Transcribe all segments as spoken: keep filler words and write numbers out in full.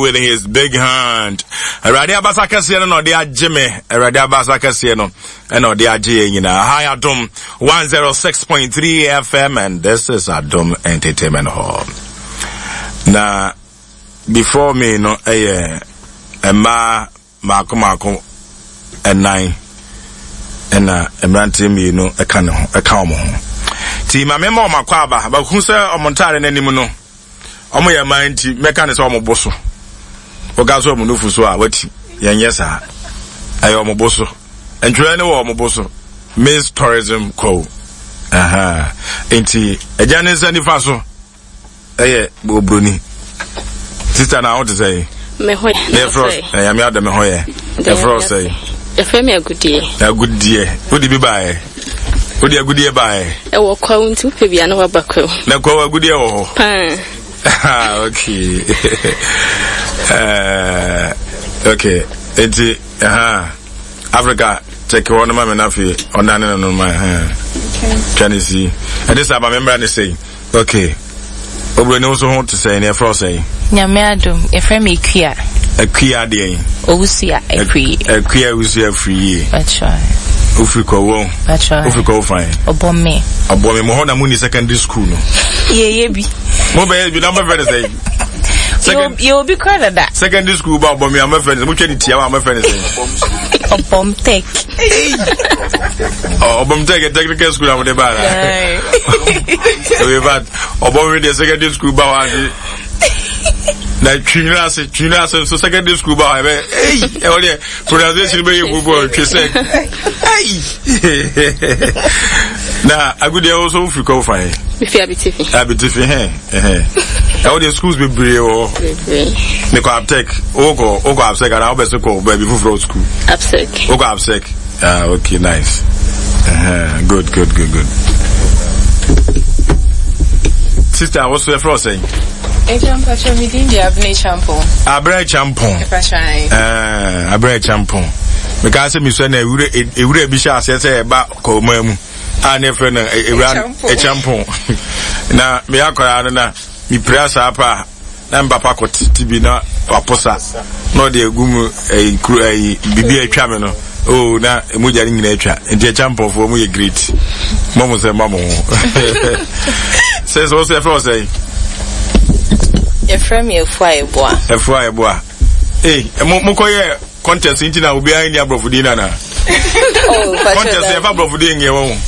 With his big hand. Awurade abasa kɛseɛ no na ɔde agye me. Awurade abasa kɛseɛ no ɛna ɔde agye yɛn nyinaa. Hi Adom one oh six point three F M, and this is Adom Entertainment Hall. Na before me no, ɛyɛ mmaa mmaako mmaako ɛnan ɛna mmeranteɛ mmienu ɛka ne ho, ɛka wɔn ho. Ti maame ma wɔn akɔ aba baako sɛ wɔn ntaare n'anim no, wɔn yɛ mmaa nti mɛka ne sɛ wɔn bo so. Wɔka so wɔn nufu so a wati yɛnyɛ saa, ɛyɛ wɔn bo so. Ntwerɛ ne wɔ wɔn bo so, Miss Tourism Kwawu. Nti agya ne nsa nifa so ɛyɛ obroni sister na aho te sɛ? Me ho yɛ. Yɛfrɛ ɛyàmí ada, me ho yɛ. Yɛfrɛ ɔsɛ? Yɛfrɛ me Agudie. Agudie, wode bi baeɛ? Wode agudie baeɛ? Ɛwɔ Kwawu, nti wopɛ bia na waba Kwawu. Na Kwawu agudie wɔ hɔ? Paa. Ah, okay. uh, okay nti uh, Africa check hɔ no ma me, na afei ɔnane no no ma twa ne si ɛde sɛ aba me mmra ne sɛi. Okay, oburoni nso ho te sɛ ne yɛfrɛ wo sɛn? Nyame adom, yɛfrɛ me Akua. Akua deɛn? Owusua Afiri. Akua Owusua Afiri yie. Patro. Wofiri Kɔwɔ? Patro. Wofiri Kɔwɔ fan? Ɔbɔ me. Ɔbɔ me mo hɔ na mo ni secondary school no? Yɛyɛ bi. Mo bɛyɛ bi na mo bɛfrɛ ne sɛn? Yɛ obi kora dada. Secondary school ba ɔbɔ me a, mo bɛfrɛ ne sɛn? Mo twɛ ne tia wa, mo bɛfrɛ ne sɛn? Ɔbɔm Tech. Ɔbɔm Tech, technical school a mo de ba na. Okay, but ɔbɔm mi deɛ, secondary school ba wa ase na twinwira ase, twinwira ase nso secondary school ba wa ɛbɛ eyi ɛwɔ deɛ pronunciation bɛ yɛ gbogbo twe sɛ eyi. Na Agudeɛ wo nso wofiri kɔ fan? Mefi Abitifi. Abitifi hɛn ɛhɛn, ɛwɔ deɛ schools bebree wɔ hɔ. Bebree. Mekɔ Abtec. Wokɔ wokɔ Absec anaa wobɛ so kɔ baabi foforɔ school? Absec. Wokɔ Absec. Ah, okay, nice. uh-huh. Good, good, good, good. Sister, wo so yɛfrɛ wo sɛn? Agya, mpatwa, me din de Abena Champon. Abena Champon. Mpatwa. Uh, Abena Champon. Mekaa sɛ mesua na ewura ewura bi hyɛ aseɛ sɛ ɛba kɔmaa mu a ne yɛfrɛ no ewura Champon, na meyɛ akwaraa no na mepira saa pa a, na mpapa kɔ tete bi na waposa na ɔde egu mu, ɛyi kuro, ɛyi bibi atwa me no oh, na emu gya ne nyinaa atwa. Nti ɛkya mpɔfoɔ mu yɛ great mo mo sɛ ma mo ho sɛ sɛ wɔsɛ yɛfrɛ wɔ sɛ? Yɛfrɛ me Afua Eboa. Afua Eboa. Ee, mo mo kɔ yɛ contest nti na obiara nni aborɔfo din nana? Oh, contest yɛfa aborɔfo din nyɛ wɔn.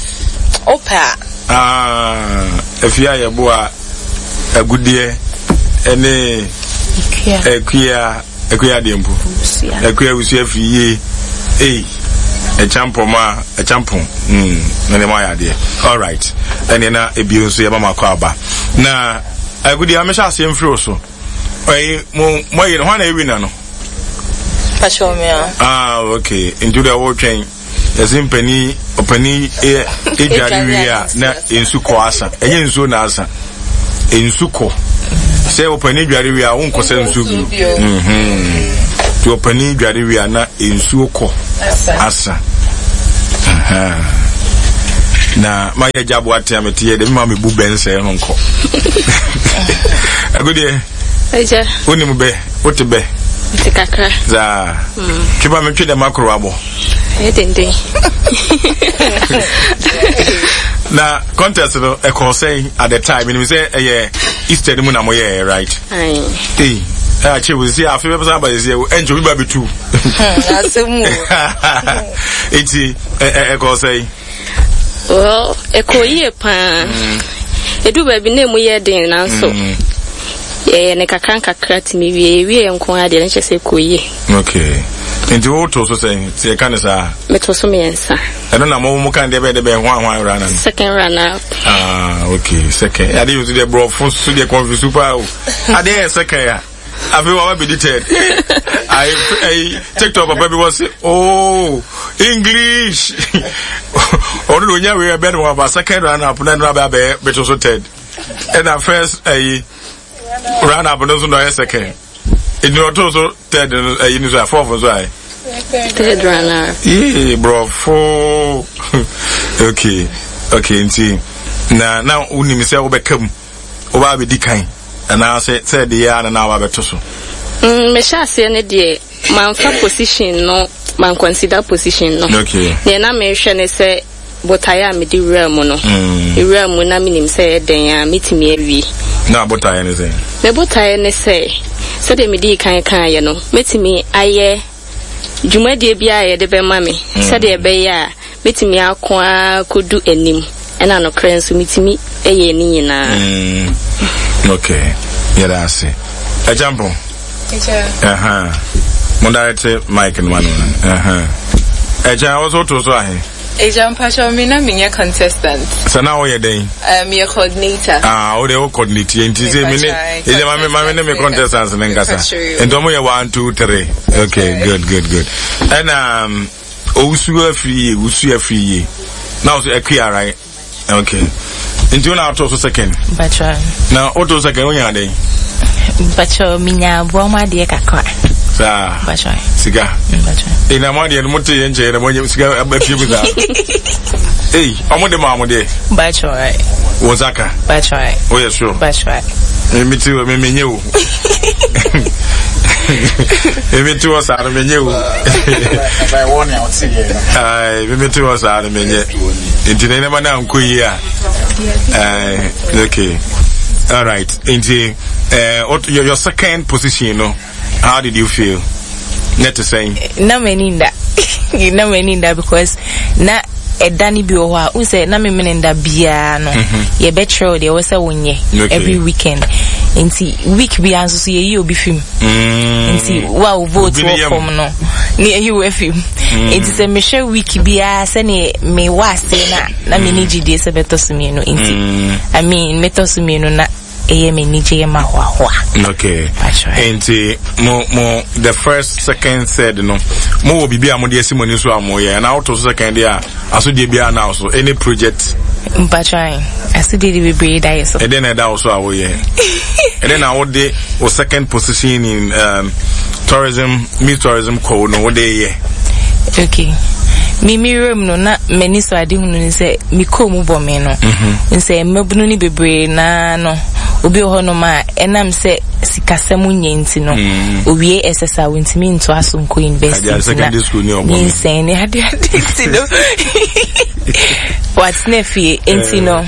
Wopɛ a. Ah, Afua Yɛboa, Agudeɛ ɛne Akua, Akua adeɛ mpo, Akua Awusua firi yie. Ei, ɛkyampɔma, ɛkyampɔn mm na nneɛma ayɛ adeɛ. Alright, ɛneɛ na ebio nso yɛma mo akɔ aba. Na Agudeɛ, amehyɛ aseɛ mfiri wo so. Ɛyi mo mo ayi no, hwan na ewi na no? Patro, me a. Ah, okay, nti de wɔtwɛn yɛsɛ mpanin ɔpanin yɛ edware wie a na nsu kɔ asa. Ɛnyɛ nsuo na asa, nsu kɔ. Sɛ ɔpanin dware wie a, wonkɔ sɛ nsuo bio. Nti ɔpanin dware wie a na nsuo kɔ asa. Na mayɛ agya aboa tea mete yɛ de mema mebu bɛnsɛɛ no nkɔ. Agodeɛ, Agya. Wonim bɛ? Wote bɛ? Nti kakra. Saa tweba metwe dɛm akoro abɔ. Ɛyɛ denden. Na contest no ɛkɔɔ sɛn at the time? Menim sɛ ɛyɛ Easter no mu na moyɛɛ, right? Aye. Ei, akyɛ wo sisi afe bɛpɛ sɛ aba sisi ɛnkyɛ obi ba bɛtu. Asɛm o. Nti ɛkɔɔ sɛn? Well, ɛkɔɔ yie paa. Ɛdu baabi na emu yɛ den, nanso yɛyɛ ne kakra nkakra tumi wie. Yɛwie yɛ nko ara deɛ, ne kyerɛ sɛ ɛkɔɔ yie. Okay, nti woto so sɛn sɛ yɛka ne saa? Meto so mmiɛnsa. Ɛno na mo mo kan deɛ bɛyɛ de bɛyɛ hwan hwan wura na no? Second runner up. Ah, okay, second. Ade yi nso deɛ, borɔfo so deɛ confuse paa o. Adeɛ yɛ second a, afei wa bɛdi third. Ayi ayi, TikTok papa bi wɔ se, oh, English, ɔno de onya wei ɛbɛn no aba second runner up na ɛno abɛ abɛyɛ bɛto so third, ɛna first ayi runner up no nso na ɔyɛ second. Nti ɔto so third no, ayi no so a, fourth nso ayɛ third runner up. Yee, borɔfo. okay okay nti na na wonim sɛ wobɛka mu, wobaa bɛdi kan anaasɛ sɛ ɛde yɛ a na na wabɛto so? Mm, mehyɛ aseɛ no deɛ, mamfa position no, man consider position no. Okay. Deɛ na mehwɛ ne sɛ botaeɛ a mede wura mu no, Mm. mewura mu na menim sɛ ɛyɛ dɛn a metumi awie. Na botaeɛ ne sɛ? Me botaeɛ ne sɛ, sɛdeɛ medii kan kaeɛ no, mɛtumi ayɛ dwumadie biara a yɛde bɛma me, Mm. sɛdeɛ ɛbɛyɛ a mɛtumi ako ara kɔdu anim, ɛna nokorɛ nso metumi yɛ ne nyinaa. Mm. Okay. Yɛda ase. Ɛgyampɔn. Ɛha. Mo direct mic no ma no. Ɛha. Ɛgya, wo so to so ahe? Agya, mpacho, me na menyɛ contestant. Sɛ na woyɛ dɛn? Um, meyɛ coordinator. Ah, wo de wo coordinate nti sɛ me ne ɛgya ma me ma me ne me contestants ne nkasa. Nti ɔmo yɛ one two three. Okay, good good good. Ɛna um, owusu afiri yie, wusu afiri yie. Na wo so akua, right? Okay. Nti wo na ato so second. Mpacho. Na woto second wonya dɛn? Mpacho, minya aboa mu adeɛ kakra. Saa. Mpacho. Sika. Mpacho. Ee na mo adeɛ no mo te yɛ nkyɛn na mo nyɛ sika afie mu saa. Ee, ɔmo de maa mo deɛ. Mpacho. Wo nsa ka. Mpacho. Woyɛ sure? Mpacho. Me me ti me me nye o. Me me ti wɔ saa no me nye o. Ayi, me me ti wɔ saa no me nye. Nti na nneɛma na nkɔ yie a. Ɛɛ, okay. All right. Nti, eh, what your, your second position no? How did you feel? Net to say. Na m'ani nda. Na m'ani nda because na ɛda no bi wɔ hɔ a wohu sɛ na memene nda biara no, yɛbɛkyerɛ wo deɛ ɛwɔ sɛ wonyɛ Okay. every weekend, nti week biara nso so yɛyi obi fi mu, Mm. nti wo a wo vote Obi ne wɔ yam. fam no ne yɛyi wo afi mu, nti sɛ mehwɛ week biara sɛneɛ mewɔ aseɛ no a, na m'ani gye die sɛ bɛtɔ so mmienu, nti Mm. I mean, metɔ so mmienu na ɛyɛ m'ani gye, yɛ ma hoahoa. Okay. That's right. Nti mo mo the first, second, third no, mo wɔ biribi a mo de asi mo ani so a mo yɛ, na woto so second deɛ a, asodie biara na so any project? Mpatwan, asodie de bebree da yɛ so. Ɛdɛn na ɛda wo so a woyɛ? Ɛdɛn na wode wo second position in um, tourism, Miss Tourism kɔ no wode yɛ? Okay, me me wuram no na m'ani so ade hunu ne sɛ me kɔn mu bɔ me no nsɛ mmabunu no bebree naa no, obi wɔ hɔnom a ɛnam sɛ sikasɛm nyɛ nti no, owie ɛsɛ sɛ a wontumi ntoa so nkɔ university. Agya, nti na secondary school ni ɔbɔ me. Nyinsɛn ne ade ade nti no watena fie, nti no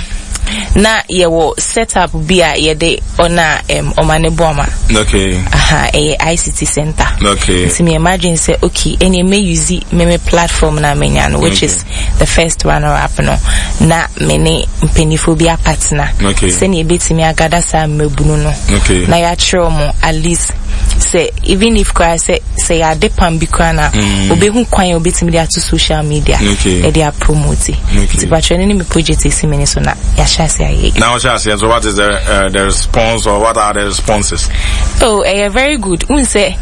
na yɛwɔ setup bi a yɛde ɔna um, ɔma ne bɔ ama. Okay. Aha, ɛyɛ I C T center. Okay. Nti me imagine sɛ okay, ɛne me use me me platform na menya no, which Okay. is the first runner up no, na me ne mpanyinfoɔ bi apatena Okay. sɛnea ebetumi agada saa mmabunu no Okay. na yɛakyerɛ mo at least sɛ even if koraa sɛ sɛ yɛade pam bi koraa na obehu kwan a obetumi de ato social media Okay. ɛde apromote. Okay. Nti patro ne ne me project esi me ne so na yɛahyɛ ase ayɛ. Now, Shasi, so what is the uh, the response or what are the responses? Oh, ɛyɛ very good. Wohu sɛ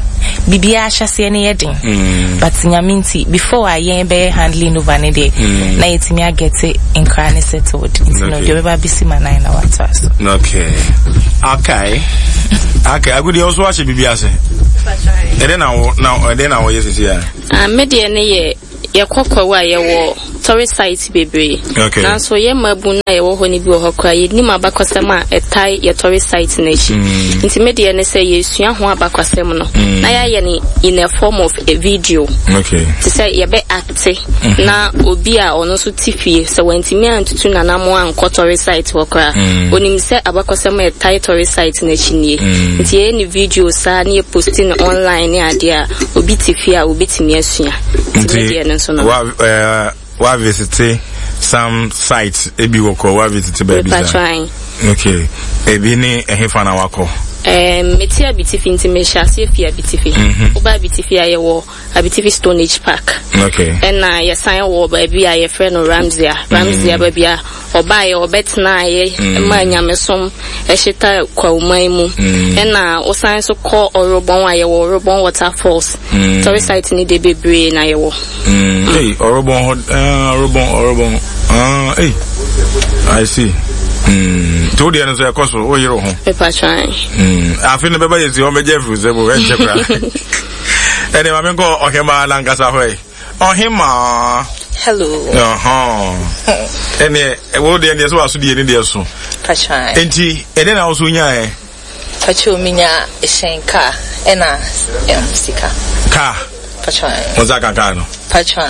biribiara ahyɛseɛ no yɛ den, but Nyame nti before a yɛn bɛyɛ handling over ne deɛ, na yɛtumi agɛte nkra ne settled, nti no Okay. deɛ ɔbɛba bɛsi ma nan na watoa so. Okay. Okay. Okay. Agudi also ahyɛ biribi ase. Ɛdɛn na wo na ɛdɛn na wɔyɛ sisi a? Ah, me deɛ ne yɛ yɛkɔ Kwawu a, yɛwɔ tourist site bebree. Okay. Nanso yɛ mmabu no a yɛwɔ hɔ no bi wɔ hɔ koraa, yɛnim abakɔsɛm a ɛtae yɛ tourist site no akyi. Nti me deɛ ne sɛ yɛsua ho abakɔsɛm no na yɛayɛ no in a form of a video. Okay. Te sɛ yɛbɛ act na obi a ɔno nso te fie sɛ wantumi antutu nanamo ankɔ tourist site hɔ koraa, onim sɛ abakɔsɛm a ɛtae tourist site no akyi nie. Nti yɛyɛ ne video saa ne yɛpost no online ne adeɛ a, obi te fie a obɛtumi asua. Nti me deɛ no nso no wa uh, wa visit some sites ebi wɔ kɔ wa visit baabi saa? Mepatwan. Okay. Ebi ne ɛhefa na wakɔ? Um, mete Abitifi, nti mehyɛ aseɛ fi Abitifi. Woba Abitifi a, yɛwɔ Abitifi Stone Age Park. Okay. Ɛna yɛsan wɔ baabi a yɛfrɛ no Ramsia. Ramsia, baabi a ɔbaeɛ ɔbɛtenaeɛ ma nyamesom ɛhyeta Kwawuman mu. Ɛna wosan so kɔ Ɔrobɔn a, yɛwɔ Ɔrobɔn Waterfalls. Tourist site ne de bebree na yɛwɔ. Mm. Hey, Ɔrobɔn hɔ, uh, Ɔrobɔn, Ɔrobɔn. Ah, hey. I see. Mm. Nti wo deɛ no nso ɛkɔ so, woyere wo ho. Mepatwan. Mm. Afe no bɛba, yɛsi hɔ bɛgye afiri sɛ mo ɛnkyɛ koraa. Ɛne ma menkɔ ɔhemaa nankasa hɔ yi. Ɔhemaa. Hello. Ɔhɔn. Ɛneɛ, wo deɛ deɛ sɛ waso deɛ ne deɛ so. Patwan. Enti, ɛdɛn na wo so nyaeɛ? Pacho minya hyɛn car ɛna um, sika. Car. Pacho. Wo nsa ka car no. Pacho.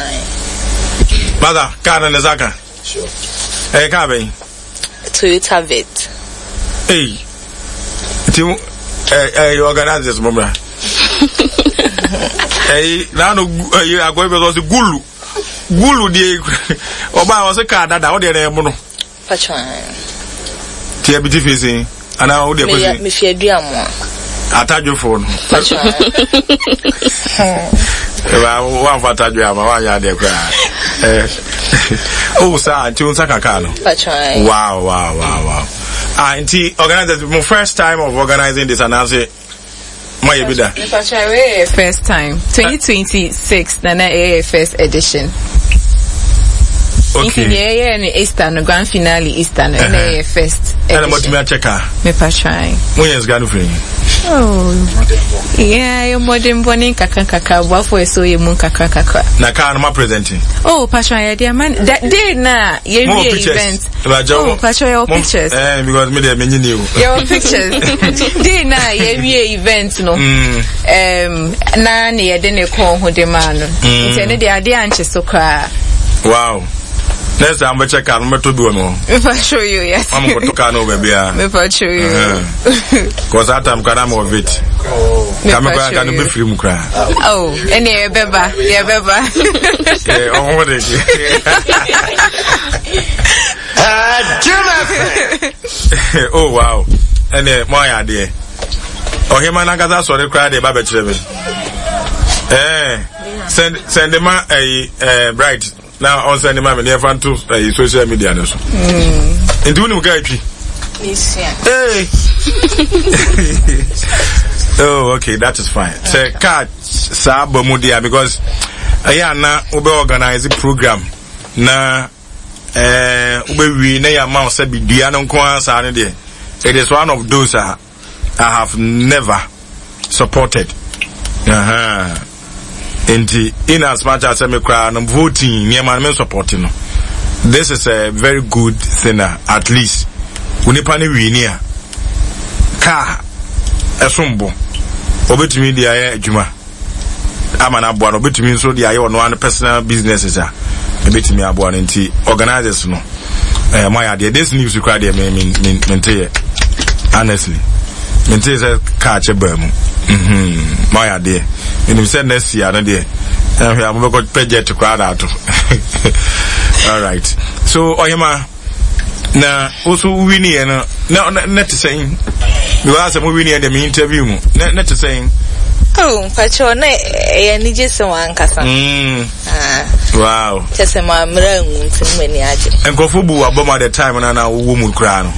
Mother, car no ne nsa ka. Sure. Ɛyɛ car bɛn? Toyota Vitz. Ei. Nti ɛ ɛ organizers mo mmra. Ɛyi n'ano ɛyi akɔyi bɛ sɔ ɔsi gulu gulu deɛ ɔbaa ɔsi car dada ɔdeɛ na ɛmu no. Pacho. Tiɛ bi ti fi sin anaa o deɛ kɔ sin. Mefi Aduamoa. Atadwefo no. Pacho. Eba wanfa atadwe ama wanyɛ adeɛ koraa. Eh. Oh saa nti wo nsa ka car no. Pacho. Wow wow wow wow. Ah nti organizers mo first time of organizing this anaasɛ mo ayɛ bi da. Pacho wei yɛ first time twenty twenty six na na ɛyɛ yɛ first edition. Okay. Nti deɛ ɛyɛ no Easter no grand finale Easter no ɛna ɛyɛ first edition. Ɛna mo tumi akyɛ kaa. Mepa try. Mo yɛ sika no firi. Oh yeah, yɛ mmɔden bɔ ne nkakra nkakra aboafo ɛsɛ ɔyɛ mu nkakra nkakra. Na kaa no ma presenting. Oh patro yɛ de ama that day na yɛ wie event. Oh patro yɛ wɔ pictures. Eh because me deɛ me nyi ni o. Yɛ wɔ pictures. Day na yɛ wie event no. Mm. Um, na ne yɛ de ne kɔn ho de maa no. Mm. Nti ɛno deɛ adeɛ ankye so koraa. Wow. Next time bɛkyɛ kaa no mɛtɔ bi wɔ me hɔ. Mepa show you yes. Mamu kɔtɔ kaa no wɔ baabi a. Mepa show you. Kɔ saa time kora na mewɔ vit. Ka me kora ka no bɛfiri mu koraa. Oh, ɛne yɛbɛba yɛbɛba. Ɔho de. Oh wow. Ɛne mo ayɛ adeɛ. Ɔhema n'ankasa sɔre koraa deɛ ba bɛkyerɛ me. Eh, send send ma ɛyi eh, bright. Na ɔnsɛn ne ma me ne yɛfa nto ɛyi social media no so. Nti wonim kaa twi? Hey. Oh, okay, that is fine. Sɛ kaa saa ba mu deɛ because ɛyɛ ana wobɛ organize program na ɛɛ wobɛwie na yɛ ama wo sɛ bidua no nko ara saa no deɛ it is one of those a I have never supported. Uh-huh. Nti in as much as me koraa no voting nneɛma no me support no. This is a very good thing a at least onipa no wini a car ɛsom bo obetumi de ayɛ adwuma ama no aboa no obetumi nso de ayɛ ɔno ano personal businesses a ebetumi aboa no nti organizers no ɛɛ mo ayɛ adeɛ this news koraa deɛ me me me mente yɛ honestly mente sɛ car kyɛ baa mu mhm mo ayɛ adeɛ menim sɛ next year no deɛ ɛhwɛ a mobɛkɔ pɛ jet koraa na ato alright so ɔyɛma na woso winiɛ no na na na te sɛn because asɛ mo winiɛ deɛ me interview mu na na te sɛn. Oh, mpakyɛw na ɛyɛ anigye sɛ wankasa. Mm. Ah. Wow. Kyɛ sɛ mammrɛ angu nti no m'ani agye. Nkurɔfo bu w'abam at the time na na wowɔ mu koraa no.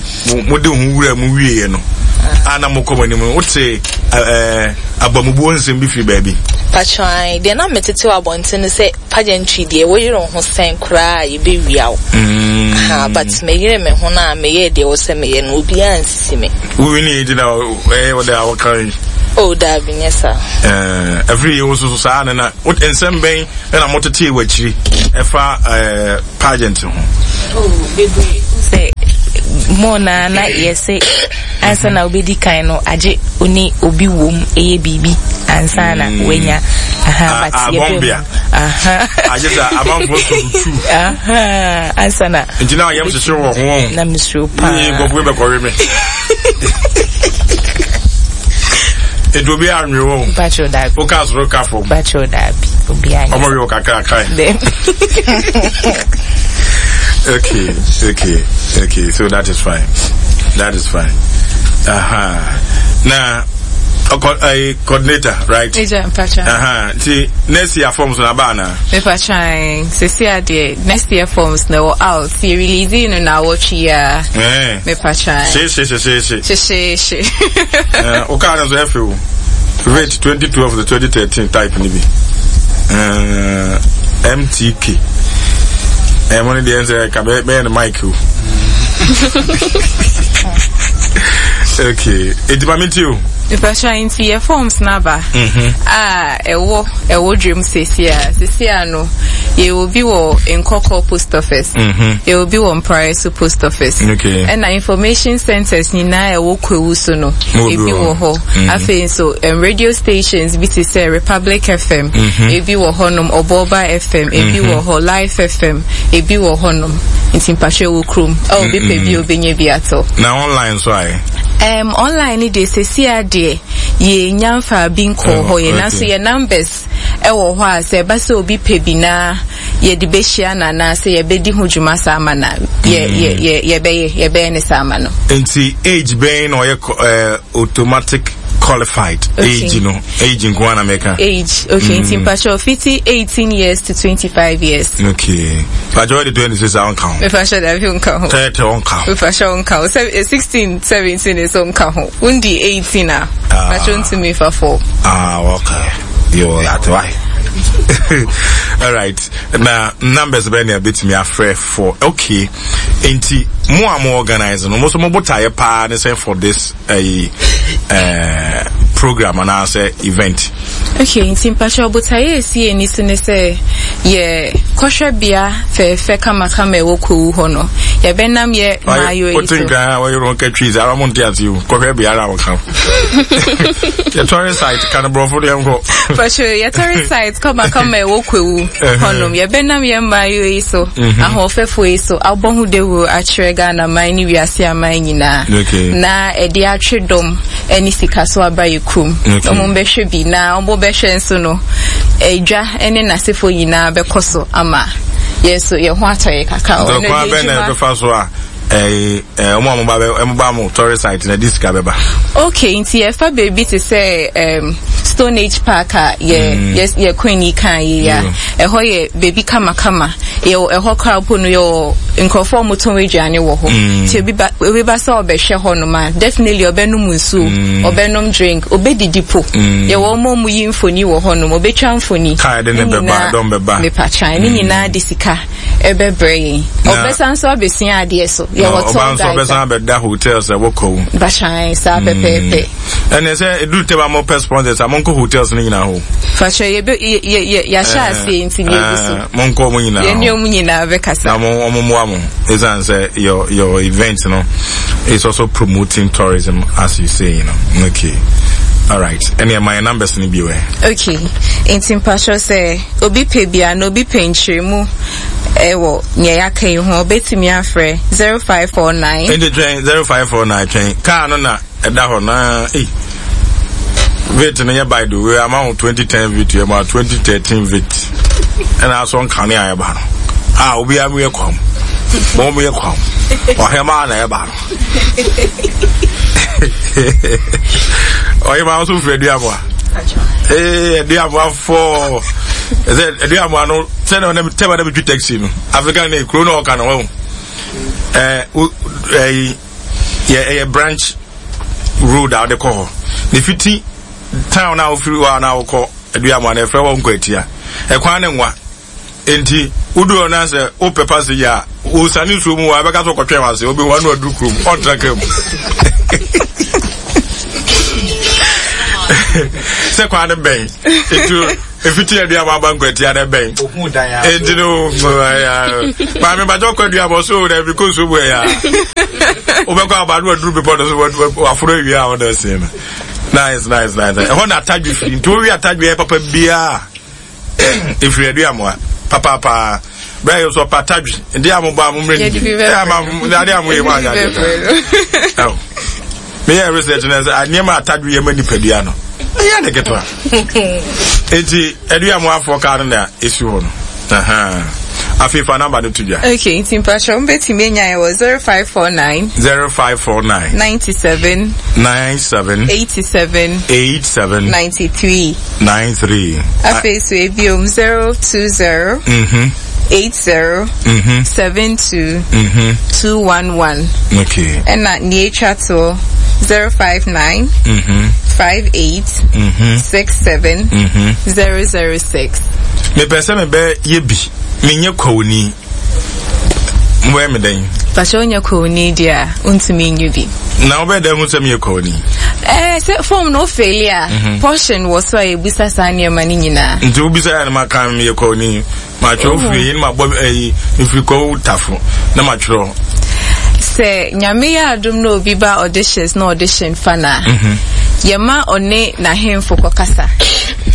Mo de ho wura mu wieɛ no. Ah. A na mokɔ mo anim no wote ɛɛ abamubuo nsɛm bi firi baabi. Pakyɛw deɛ na metete wɔ abɔnten no sɛ pageantry deɛ woyere wo ho sɛn koraa a yɛbɛwia wo. Mm. Aha, but meyere me ho no a meyɛɛ deɛ ɛwɔ sɛ meyɛ no obiara nsisi me. Wowini nti na ɛyɛ wo dɛ a woka yi. Oh, daabi nyɛ saa. Ɛɛ afiri yi wo soso saa na na nsɛm bɛn ɛna motetee w'akyiri ɛfa ɛɛ pageant ho. Oh, bebree sɛ mo na na yɛsɛ ansa na wobɛdi kan no agye wo ne obi wom ɛyɛ biribi ansa na mm. wanya aha but yɛbɛ mu aha agye sɛ amanfoɔ so tu aha ansa na nti na yɛm hyehyɛ wɔ ho na mesuro paa yɛ nkɔfoɔ bɛkɔwe me Etu obi anwe wo. Bacho dabi. Wo ka soro ka fam. Bacho dabi. Obi anwe. Ọmọ wi kakra kai. Okay, okay, okay. So that is fine. That is fine. Aha. Now, uh, coordinator, right? Eja, mpacha. Aha. Nti next year forms na ba na. Mepa Sisi adeɛ next year forms na wɔ out. Yɛ release no na wɔtwe ya. Eh. Mepa She she she she she. She she she. Eh, o car no so efe o. Rate twenty twelve to twenty thirteen type ni bi. Eh, M T K. Eh, mo ne deɛ nsɛ ka bɛ bɛyɛ no mic o. Okay, eti ma mi ti o. Mpatwa, nti yɛ forms n'aba a ɛwɔ ɛwɔ dwam sesi a sesi a no, yɛwɔ bi wɔ Nkɔkɔ Post Office, yɛwɔ bi wɔ Mpraeso Post Office, Okay. ɛna information centers nyinaa ɛwɔ Kwawu so no, Mo bi ebi wɔ wɔ hɔ. Afei nso um, radio stations bi te sɛ Republic F M, ebi wɔ hɔnom, Ɔbɔɔba F M, ebi wɔ hɔ, Life F M, ebi wɔ hɔnom. Nti mpatwa, ɛwɔ kurom a obi pɛ bi a obenya bi atɔ. Na online so ayɛ? Um, online ni deɛ, sesi adeɛ yɛnya mfa bi nkɔɔ hɔ yɛ, nanso yɛ numbers ɛwɔ hɔ a sɛ ɛba sɛ obi pɛ bi na yɛde bɛhyia no anaasɛ yɛbɛdi ho dwuma saa ama na yɛ yɛ yɛ yɛbɛyɛ yɛbɛyɛ ne saa ama no. Nti age bɛn na ɔyɛ uh, automatic qualified? Okay. Age no, age nko ara na mɛka. Age, okay. Nti mpakyɛ, fiti eighteen years to twenty-five years. Okay, mpakyɛ, wɔde twenty six a ɔnka ho? Mepakyɛ, dabi, nka ho. Thirty ɔnka ho? Mepakyɛ, nka ho. Sɛ sixteen, seventeen nso nka ho. Wundi eighteen a, Ah. mepakyɛ, ntumi fa four. Ah, okay, yo, yate wae. All right, na numbers bɛn na ebetumi afrɛ for? Okay, nti mo a mo organize no, mo nso mo botaeɛ paa ne sɛ for this ɛyi ɛɛ program anaasɛ event? Okay, nti mpakyɛ, ɔbotaeɛ esi ani so ne sɛ yɛ kɔhwɛ bea fɛɛfɛ kamakama ɛwɔ Kwawu hɔ no, yɛbɛnam yɛ maayo yi Wote so. Nkran a wɔyere wɔn ka trees ara mo nte ase o. Kɔhwɛ biara a wɔka yɛ tourist site ka no borɔfo deɛ nkɔ. Mpakyɛ, yɛ tourist site kamakama ɛwɔ Kwawu hɔnom, yɛbɛnam yɛ maayo yi so, ahoɔfɛfoɔ yi so, abɔ ho dawuro akyerɛ Ghana man ne wiase aman nyinaa Okay. na ɛde atwe dɔm ɛne sika so aba yɛ kurom. Okay. Ɔmo bɛhwɛ bi na ɔmo bɛhwɛ nso no, edwa ɛne n'asefoɔ nyinaa bɛkɔ so ama yɛn nso yɛn ho atɔ yɛ kakra. Nti Ɔno ɔkwan deɛ bɛn na adwuma- ɛbɛfa so a ɛɛ ɛɛ ɔmo a mo ba bɛ ɛmo ba mo tourist site na ɛde sika bɛba? Okay, nti yɛfa baabi te sɛ um, Stone Age Park a yɛ yɛ yɛ queen yi kan yi a, ɛhɔ yɛ baabi kamakama. Yɛwɔ ɛhɔ koraa po no, yɛwɔ nkurɔfoɔ a wɔtɔn aduane wɔ hɔ. Nti obi ba obi ba sɛ ɔbɛhwɛ hɔ nom a, definitely ɔbɛnom nsuo, ɔbɛnom drink, ɔbɛdidi po. Yɛwɔ wɔn a wɔyi mfoni wɔ hɔ nom, ɔbɛtwa mfoni. Kaa de ne bɛba, nyinaa- dɔm bɛba. Mepatwan ne nyinaa de sika ɛbɛbrɛ yɛn. Na- Ɔbɛsan nso abɛsua adeɛ so. Na Yɛwɔ ɔba tour nso guide. ɔbɛsan abɛda hotels a ɛwɔ Kwawu? Batwan, saa pɛpɛɛpɛ. Ɛnɛ sɛ eduru tɛm a mopɛ sponsors a, monkɔ hotels no nyinaa hɔ. Fatwa, yɛbɛ yɛ yɛ yɛahyɛ aseɛ nti yɛgu so. Ɛɛ, monkɔ mo nyinaa yɛne hɔ. ɔmo nyinaa bɛkasa. Na mo ɔmo mmoa mo, ɛsiane sɛ your your event no is also promoting tourism, as you say you know Okay, all right, ɛnna ɛma yɛn numbers no bi wɛ. Okay, nti mpatwɛ, sɛ obi pɛ bia na obi pɛ nkyerɛmu ɛwɔ nea yɛaka yi ho, obetumi afrɛ zero five four nine. Nti twɛn, zero five four nine, twɛn, kaa no na ɛda hɔ na ei, Vitz no yɛ, by the way, ama wo twenty ten Vitz, yɛ ma twenty thirteen Vitz, ɛna asɔ nkane a ɛba no a obiara mu yɛ kwam, mo mu yɛ kwam, ɔhɛmaa na ɛba no. Ɔhɛmaa nso firi Aduamoa, ee, Aduamoa fɔɔ ɛsɛ Aduamoa no sɛnɛ ɔnam tɛm a na bitwi taxi no African ne kuro na ɔka no wɔn ɛɛ ɛyi yɛ ɛyɛ branch road a wɔde kɔ hɔ ne fiti town a wofiri hɔ a na wokɔ Aduamoa no, ɛfrɛ hɔ Nkwatia. Ɛkwan ne nwa nti wodu hɔ na sɛ wopɛ passage a, wosane nsuo mu wɔ abɛka so kɔtwɛn wase, wobɛhu ano aduru kurom, ɔntra ka mu sɛ kwan no bɛn nti efiti Aduamoa aba Nkwatia no bɛn nti no, maame bàtɛ ɔkɔ Aduamoa so na ebi kɔ nsuo mu ɛyà wobɛkɔ aba no aduru bepɔ no so, waforo awie a wɔde ɛsɛn no. Nice, nice, nice. Ɛhɔ na atadwe firi, nti wowi atadwe yɛ papa biara efiri Aduamoa papaapa. Bɛyɛ yɛ so ɔpa atadwe nti a mo bɔ a mo mmerɛ ni ɛ ama ade a mo yɛ mu anya adeɛ ɛwɔ meyɛ research na sɛ nneɛma atadwe yɛ ma nipadua no ɛyɛ ne ketewa. Nti Aduamoa afɔ kaa no na esi hɔ no. Afei fa number no to dwa. Okay, nti mpatwɛ, mbɛtumi anya yɛ wɔ zero five four nine. zero five four nine. ninety-seven. ninety-seven. eighty-seven. eighty-seven. ninety-three. ninety-three. Afei so ebiom, zero two zero. Mhm. eight zero. Mhm. seven two. Mhm. two one one. Okay. Ɛna nea etwa toɔ, zero five nine. Mhm. five eight. Mhm. six seven. Mhm. zero zero six. Mepɛ sɛ mebɛ yɛ bi, menyɛ kwawuni, mbɛyɛ me dɛn? Pakyɛ, wonyɛ kwawuni deɛ a, wontumi nyɛ bi. Na wobɛyɛ dɛ hu sɛ meyɛ Kwawuni? Eh, sɛ form no wofeeli a, mhm. portion wɔ so a yɛbisa saa nneɛma no nyinaa. Nti wobisa yɛ no maka meyɛ Kwawuni. Matwerɛ wofiri yi na mabɔ ayi mefiri Kwawu Tafo na matwerɛ. Sɛ Nyame yɛ adom na obi ba auditions na audition fa no a, mhm. yɛma ɔne n'ahemfo kɔkasa.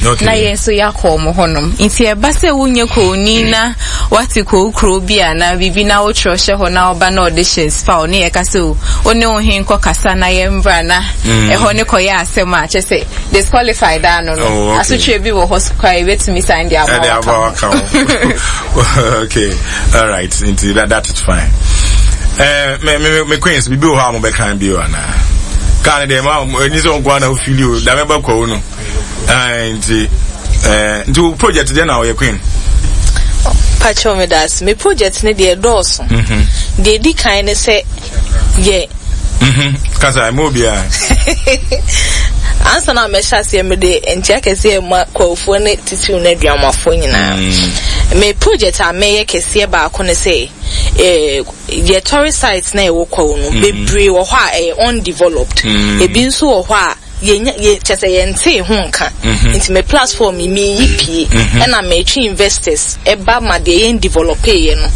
Okay. Na yɛn nso yɛakɔ wɔn hɔnom. Nti ɛba sɛ wonyɛ kowni na wate kow kuro bi anaa biribi na wotwerɛ hyɛ hɔ na ɔba na auditions fa wo ne yɛka sɛ o wo ne wo he nkɔ kasa na yɛmbra na mm. ɛhɔ ne kɔyɛ asɛm a kyɛ sɛ disqualified ano no oh, okay. Asotwe bi wɔ hɔ so koraa yɛbɛtumi san de ama waka ho. Okay, all right, nti that, that is fine. Eh, me me me queens bibi wɔ hɔ a mo bɛkan bi o anaa kaa ne deɛ ma ɛni sɛ nkoa na wofili o dame bɛ kɔ wo no. Nti eh, nti wo project deɛ na ɔyɛ queen? Pakyɛw, me da ase. Me project ne deɛ dɔɔso. Mhm. Deɛ edi kan ne sɛ yɛ mhm. kasa ɛmu obiara. Ansa na mɛhyɛ aseɛ, mede nkyia kɛseɛ ma Kwawofoɔ ne titiriw no aduamafoɔ nyinaa. Mm. Me project a mɛyɛ kɛseɛ baako ne sɛ eh, yɛ tourist sites na ɛwɔ Kwawu no, mm. bebree wɔ hɔ a ɛyɛ undeveloped. Mm. Ebi nso wɔ hɔ a yɛnya yɛ kyɛ sɛ yɛntee ho nka. mm-hmm. Nti me platform yi meyi pie, mm-hmm. ɛna metwe investors ɛba ma deɛ yɛn develop yɛ no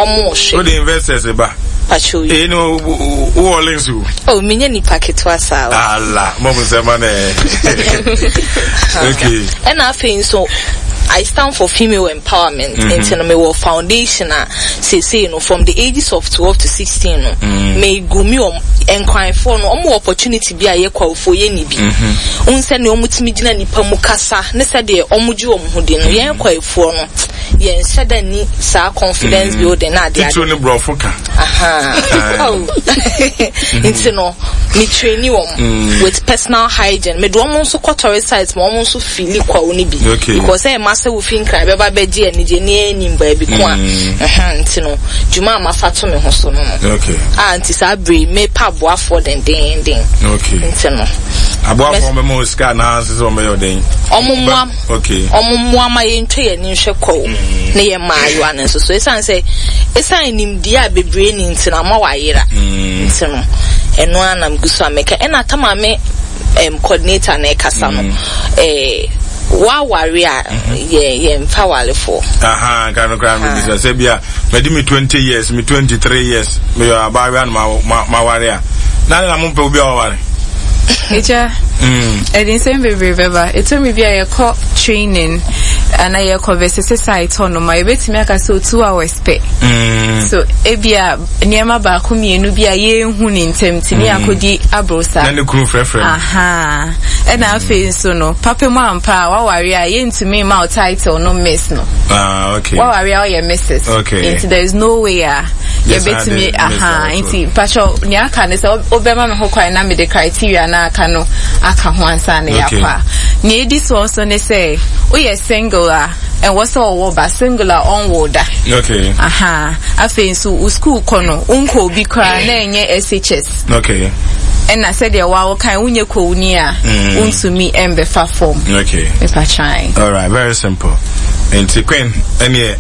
ɔmo hwɛ. Wode investors ba? Pacho yi. Ee no, wowɔ links o. Oh, menyɛ nipa ketewa saa o. Ala, mo mo sɛ ma nɛ. Okay. Ɛna afei nso I stand for female empowerment. Mm-hmm. Nti no mewɔ foundation a seesei no from the ages of twelve to sixteen no mm. me gumi wɔn nkranfoɔ no, wɔn wɔ opportunity bi a yɛ Kwawofoɔ yɛ ni bi. Wohu sɛdeɛ wɔn tumi gyina nipa mu kasa ne sɛdeɛ wɔn gye wɔn ho di no, yɛn Kwawofoɔ no yɛn hyɛ da ni saa confidence building na adeɛ ade. Titiri ne borɔfo ka. Oh. Nti no me traini wɔn with personal hygiene. Me de wɔn nso kɔ tourist sites ma wɔn nso fili Kwawo no bi. Because ɛyɛ ma sɛ wofi Nkran bɛba bɛgye anigye ne anim baabi ko a. Nti no dwuma a mafa to me ho so no no. Okay. A nti saa bere yi mepa aboafoɔ dendenden. Okay. Nti no. Aboafoɔ bɛma wo sika anaa sɛ wɔn bɛyɛ ɔdɛn? Ɔmo mmoa. Okay. Ɔmo mmoa ma yɛntwa yɛn ani nhwɛ Kwawu mm. ne yɛn mmaayewa no nso so. Esiane sɛ esiane nimdeɛ a bebree ni nti na ama wayera. Mm. Nti no ɛno ara na megu so a meka. Ɛna tama me um, coordinator na ɛkasa no. Mm. Eh, waware a yɛ yɛmfa warefoɔ. Aha, nka no koraa mebisa sɛ bia madi me twenty years, me twenty-three years, meyɛ abaayewa na maware a na ne na mompɛ obi a waware? Agya, ɛde nsɛm bebree bɛba. Ɛtɔ bi a yɛkɔ training ana yɛkɔ bɛsese site hɔ nom a, yɛbɛtumi aka sɛ two hours pɛ. Mm. So ebia nneɛma baako mmienu bi a yɛnhu ne ntɛm nti ne yɛakɔdi aboro saa. Na ne kunu frɛfrɛ. Aha. Ɛna afei nso no, papa mu ampa a waware a yɛntumi mma wo title no miss no. Ah, okay. Waware a ɔyɛ Missus Okay. Nti there is no way a yɛbɛtumi, aha, nti mpakyɛw nea aka ne sɛ wobɛma me ho kwan na mede criteria na aka no aka ho ansa na yɛakɔ a. Nea edi soɔ nso ne sɛ woyɛ single a ɛwɔ sɛ ɔwɔ ba, single a ɔnwo da. Okay. Aha. Afei nso wo school kɔ no wonkɔ obi koraa na ɛnyɛ S H S. Okay. Ɛna sɛdeɛ wawo kan wonyɛ kowni a mm. wontumi ɛmbɛfa fam. Okay. Mepatwan. All right, very simple. Nti queen ɛneɛ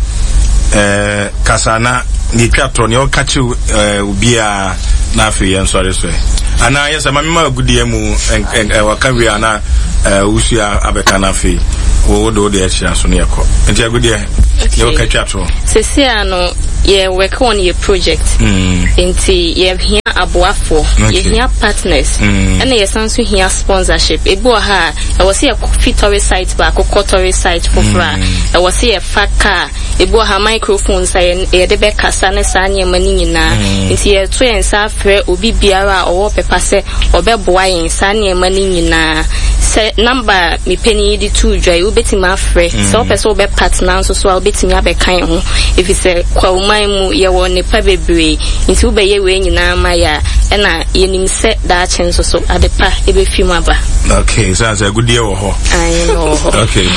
ɛɛ kasa na ne twa tɔ nea ɔka kyerɛ ɛɛ obiara na afei yɛn nsɔre so ɛ anaa yɛ sɛ maame ma agudeɛ mu ɛ waka wie ana ɛɛ wusua abɛka na afei wo de wo de ahyira so ne yɛkɔ. Nti agudeɛ, nea ɔka twa toɔ. Sisi a no yɛ work on yɛ project. Mm. Nti yɛhia aboafoɔ. Okay. Yɛhia partners. Mm. Ɛna yɛsan so hia sponsorship. Ebi wɔ ha a ɛwɔ sɛ yɛkɔ fi tourist site baako kɔ tourist site foforɔ a Mm. ɛwɔ sɛ yɛfa car. Ebi wɔ ha, microphones a yɛ- yɛde bɛkasa ne saa nneɛma no nyinaa. Mm. Nti yɛto yɛn nsa afrɛ obi biara a ɔwɔ pɛpa sɛ ɔbɛboa yɛn saa nneɛma no nyinaa. Sɛ number a mepɛ yi de too dwa yi, wobɛtumi afrɛ. Sɛ wopɛ sɛ wobɛ partner nso so a, wobɛtumi abɛka yɛn ho. Ɛfiri sɛ Kwawuman mu yɛwɔ nnipa bebree. Nti wobɛyɛ wei nyinaa ma yɛ a, ɛna yɛnim sɛ daakye nso so ade pa ɛbɛfi mu aba. Okay, sɛ sɛ agudeɛ wɔ hɔ. Ae, na wɔ hɔ. Okay,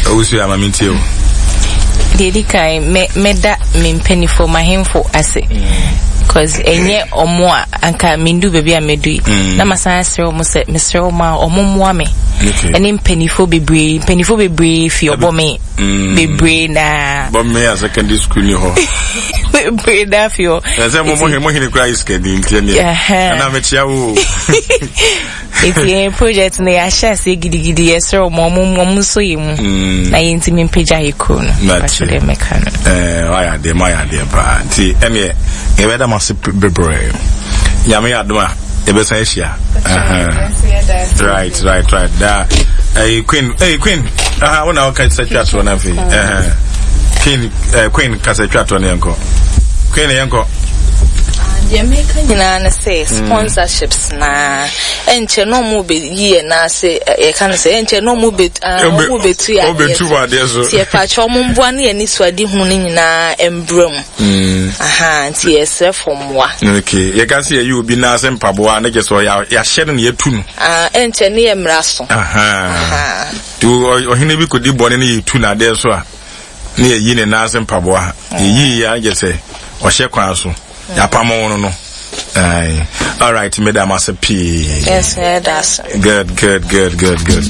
owusu ama mentie o. Deɛ ɛdi kan, mɛ mɛda me mpanimfoɔ, m'ahemfo ase, cause ɛnyɛ ɔmo a anka mendu baabi a medu yi. Mm. Na masan asrɛ ɔmo sɛ mesrɛ ɔmo a ɔmo mmoa me. Okay. Ɛne mpanimfoɔ bebree, mpanimfoɔ bebree fi ɔbɔ me Mm. bebree na bɔ me a secondary school ni hɔ. Bebree da afi hɔ. Ɛsɛ mo mo mo hene kura yi sikani nti ɛneɛ. Ɛna mekyia wo. Nti yɛn project no yɛahyɛ aseɛ gidigidi, yɛsrɛ ɔmo ɔmo ɔmo nso yɛ mu mm. na yɛntumi mpagya yɛ kuro no. Mpakyɛ deɛ mɛka no. Ɛɛ wayɛ adeɛ mo ayɛ adeɛ paa, nti ɛneɛ yɛbɛda mo ase bebree. Nyame yɛ adom a yɛbɛsan ahyia. Right, right, right. Da ɛyi Queen, ɛyi Queen, aha wo na ɔka sɛ twa toɔ na afei. Queen, ɛɛ Queen kasa twa toɔ na yɛn kɔ. Queen, yɛn kɔ. Deɛ meka nyinaa ne sɛ sponsorships na ɛnkyɛ na ɔmo bɛyi yɛn ase, yɛka no sɛ ɛnkyɛ na ɔmo bɛ ɔmo bɛtu yɛ adeɛ so, nti yɛpakyɛ ɔmo mboa ne yɛn anisoadehunu no nyinaa mbrɛ mu. Aha, nti yɛsrɛ fo mmoa. Okay, yɛka sɛ yɛyi obi nan ase mpaboa ne kyɛ sɛ yɛahyɛ no na yɛtu no. Ɛnkyɛ ne yɛ mmara so. Nti ɔhene bi kɔdi bɔne ne yɛtu no adeɛ so a, ne yɛyi ne nan ase mpaboa, yɛyi yɛ agye sɛ ɔhyɛ kwan so yɛapam no no. Aye. All right, meda mo ase pii. Yes, that's good, good, good, good, good.